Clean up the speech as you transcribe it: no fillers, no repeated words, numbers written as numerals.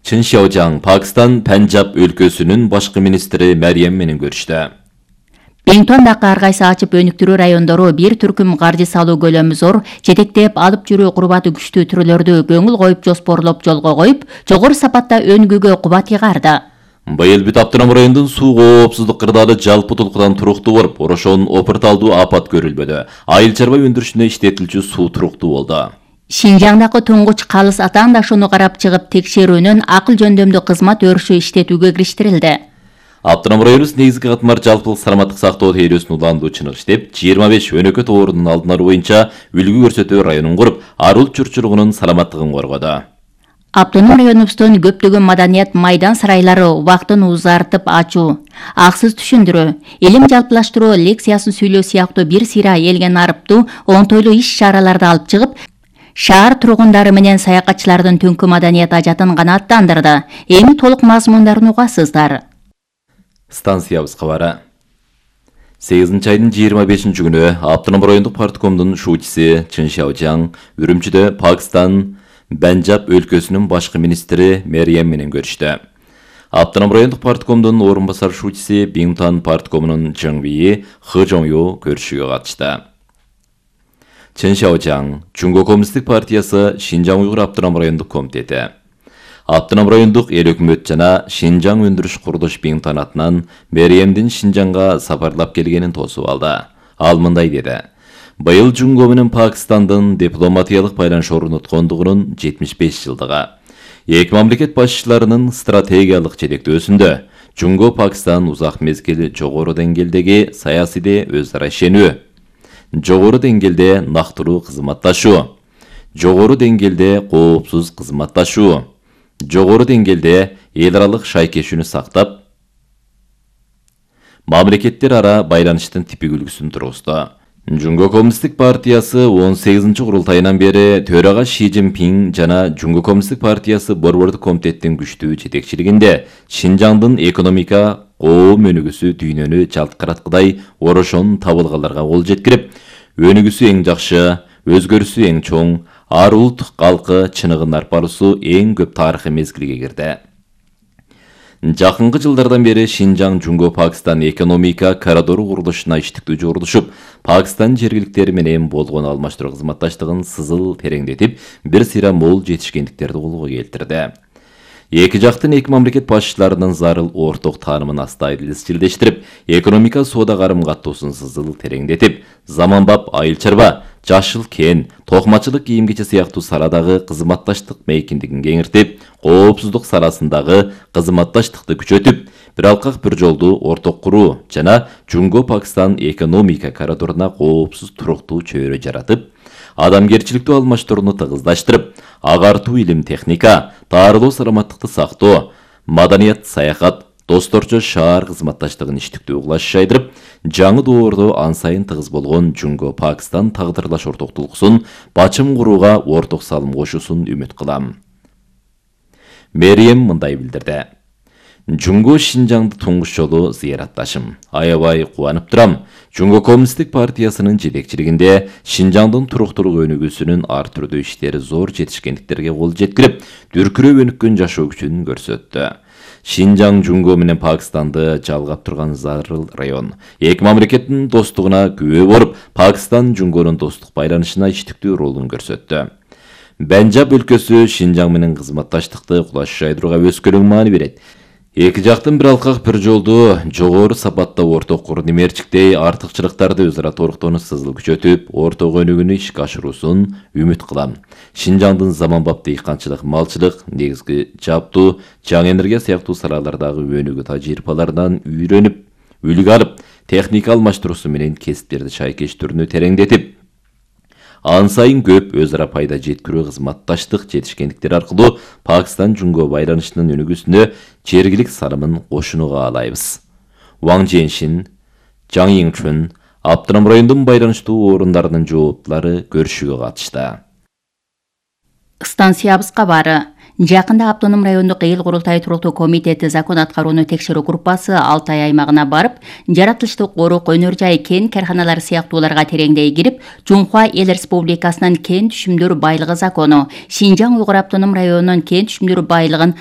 Чин Шаожаң Пакистан Пенджаб өлкөсүнүн башкы министри Мэрием менен көрүштү. Бингтондагы ар кайсы ачып өнүктүрүү райондору бир түркүм каржы салуу көлөмү зор, жетектеп алып жүрүү курбаты күчтүү түрлөрдү көңүл коюп жоспорлоп жолго коюп, жогору сапатта өнүгүүгө кубат ыйгарды. Быйыл бүт Аптанам районунун суу коопсуздук кырдаалы жалпы толкудан туруктуу болуп, ошон опырталдуу апат көрүлбөдү. Айыл чарба өндүрүшүнө иштетилчү суу туруктуу болду. Шинжаңдагы туңгуч калыс атаандашууну карап чыгып текшерүүнүн акыл жөндөмдүү кызмат өрүшү иштетүүгө кириштирилди. Аптанам районубуз негизги катмар жалпылык саламаттык сактоо тейлөөсүн уландуу чыныгы иштеп, 25 өнөкөт оорунун алдын алуу боюнча үлгү көрсөтүү районун куруп, арул журтчулугунун саламаттыгын коргоду. Аптоном районубуздун көптөгөн маданият майдан сарайлары убактын узартып ачуу, аксыз түшүндүрүү, илим жалпылаштыруу лекциясын сүйлөө сыяктуу бир сыйра элген арыптуу онтойлуу иш-чараларды алып чыгып, шаар тургундары менен саякатчылардын түнкү маданият ажатын канааттандырды. Эми толук мазмундарын угасыздар. Станциябыз кабары. 8 айдын 25 күнү Аптанам райондук парткомдун шуучусу Чин Шаожаң Үрүмчүдө Пакистан Пенджаб өлкөсүнүн башкы министри Мэрием менен көрүштү. Аптанам райондук парткомдун орун басар шуучусу Бингтон парткомунун Жыңбии Хыжоңю көрүшүүгө катышты. Чин Шаожаң Жунго коммунисттик партиясы Шинжаң уйгур Аптанам райондук комитети, Аптанам райондук эл өкмөт жана Шинжаң өндүрүш курулуш Бингтон атынан Мэриемдин Шинжаңга сапарлап келгенин тосуп алды. Ал мындай деди: Быйыл Жунго менен Пакистандын дипломатиялык байланыш орноткондугунун 75 жылдыгы. Эки мамлекет башчыларынын стратегиялык жетектөөсүндө Жунго Пакистан узак мезгил жогору деңгээлдеги саясий өз ара ишенүү, жогору деңгээлде нактылуу кызматташуу, жогору деңгээлде коопсуз кызматташуу, жогору деңгээлде эл аралык шайкешүүнү сактап, мамлекеттер ара байланыштын типик үлгүсүн тургузду. Жунго коммунисттик партиясы 18-курултайынан бери төрага Ши Цзиньпин жана Жунго коммунисттик партиясы борбордук комитеттин күчтүү жетекчилигинде Шинжаңдын экономика коом өнүгүүсү дүйнөнү жалткыраткыдай орошон табылгаларга кол жеткирип, өнүгүүсү эң жакшы, өзгөрүүсү эң чоң, ар улут калкы чыныгын арпарусу эң көп тарыхый мезгилге кирди. Жакынкы жылдардан бери Шинжаң Жунго Пакистан экономика коридору курулушуна иштиктүү жордушуп, Пакистан жергиликтери менен болгон алмаштыруу кызматташтыгын сызыл тереңдетип, бир сыйра мол жетишкендиктерди колго келтирди. Эки жактын эки мамлекет башчыларынын зарыл орток таанымын астайыл изчилдештирип, экономика соода карым каттоосун сызыл тереңдетип, заманбап айыл чарба, жашыл кен, токмачылык кийим кече сыяктуу саладагы кызматташтык мейкиндигин кеңиртип, коопсуздук саласындагы кызматташтыкты күчөтүп, бир алкак бир жолду орток куруу жана Жунго Пакистан экономика коридоруна коопсуз туруктуу чөйрө жаратып, адамгерчиликтүү алмаштырууну тыгыздаштырып, агартуу илим техника, таарылоо саламаттыкты сактоо, маданият саякат, досторчо шаар кызматташтыгын иштиктүү кылаш жайдырып, жаңы доордо ан сайын тыгыз болгон Жунго Пакистан тагдырлаш ортоктулуксун бачым курууга орток салым кошуусун үмүт кылам. Мэрием мындай билдирди: Жунго Шинжаңды туңгуч жолу зыяратташым. Аябай кубанып турам. Жунго коммунисттик партиясынын жетекчилигинде Шинжаңдын туруктуулук өнүгүүсүнүн ар түрдүү иштери зор жетишкендиктерге кол жеткирип, дүркүрөп өнүккөн жашоо күчүн көрсөттү. Шинжаң Жунго менен Пакистанды жалгап турган зарыл район. Эки мамлекеттин достугуна күбө болуп, Пакистан Жунгонун достук байланышына иштиктүү ролун көрсөттү. Пенджаб өлкөсү Шинжаң менен кызматташтыкты кулаш жайдырууга өскөлөң маани берет. Эки жактын бир алкак бир жолду жогору сапатта орток куруу немерчиктей артыкчылыктарды өз ара толуктоону сызыл күчөтүп, орток өнүгүүнү ишке ашыруусун үмүт кылам. Шинжаңдын заманбап дыйканчылык, малчылык, негизги жаптуу, жаңы энергия сыяктуу салалардагы өнүгүү тажрыйбаларынан үйрөнүп, үлгү алып, техника алмаштыруусу менен кесиптерди шайкештүүрүнү тереңдетип, ан сайын көп өз ара пайда жеткирүү кызматташтык жетишкендиктер аркылуу Пакистан Жунго байланышынын өнүгүүсүнө жергилик салымын кошууну каалайбыз. Ваң Женшин, Жаң Йиңчүн, Аптанам районунун байланыштуу орундарынын жооптулары көрүшүүгө катышты. Станциябыз кабары. Жакында Аптоном райондук эл курултайы туруктуу комитети закон аткарууну текшерүү группасы Алтай аймагына барып, жаратылыштык корук, өнөр жай, кен карханалары сыяктууларга тереңдей кирип, Жунхва эл республикасынын кен түшүмдөр байлыгы закону, Шинжаң уйгур Аптоном районунун кен түшүмдөр байлыгын